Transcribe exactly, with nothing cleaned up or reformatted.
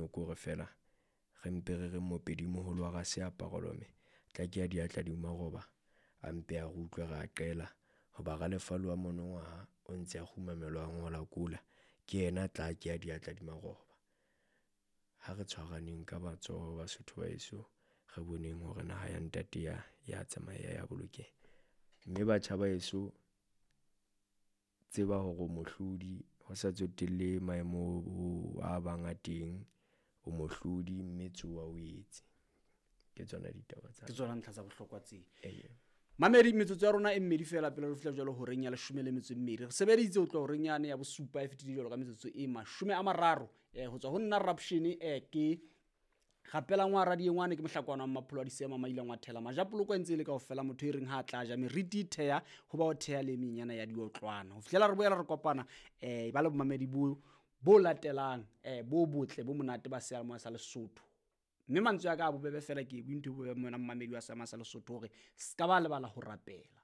mono ke hore feela re mpe re re mopedimoholo wa Raseaparolome tla ke ya diatla di maroba a mpe a re utlwe re a qela hoba ralefalo wa monongwaha o ntse a kgumamelwa a ngola kola ke yena tla ke ya diatla di maroba. Ha re tshwaraneng ka matsoho Basotho ba heso, re boneng hore naha ya ntate ya ya tsamaya ya bolokeha. Mme batjha ba heso, tseba hore o mohlodi ho sa tsotellehe maemo a bang a teng, o mohlodi mme tsoha o etse. Ke tsona ditaba tsa Ke tsona ntlha tsa bohlokwa tse. Ee. Mamedi, metsotso ya rona e mmedi fela pele re fihla jwalo horeng ya leshome le metso e mmedi. Re sebeditse ho tloha horeng yane ya bosupa e fetile jwalo ka metsotso e mashome a mararo. Eh, ho tswa ho nna Rapshene eh, ke Rapelang wa Radiengwane, ke mohlakwana wa Mmapholo wa Disema Maileng wa Thela Majapoloko e ntse e le kaofela motho e reng ha a tla ja meriti e theha ho ba o theha le e menyana ya diotlwana. Ho fihlela re boela re kopana eh, ba le bomamedi bo bo latelang eh, bo botle bo monate ba seyalemoya sa Lesotho. Mme mantswe a ka a bobebe fela ke bue ntho e bobebe mona mmamedi wa seyalemoya sa Lesotho hore se ka ba lebala ho rapela.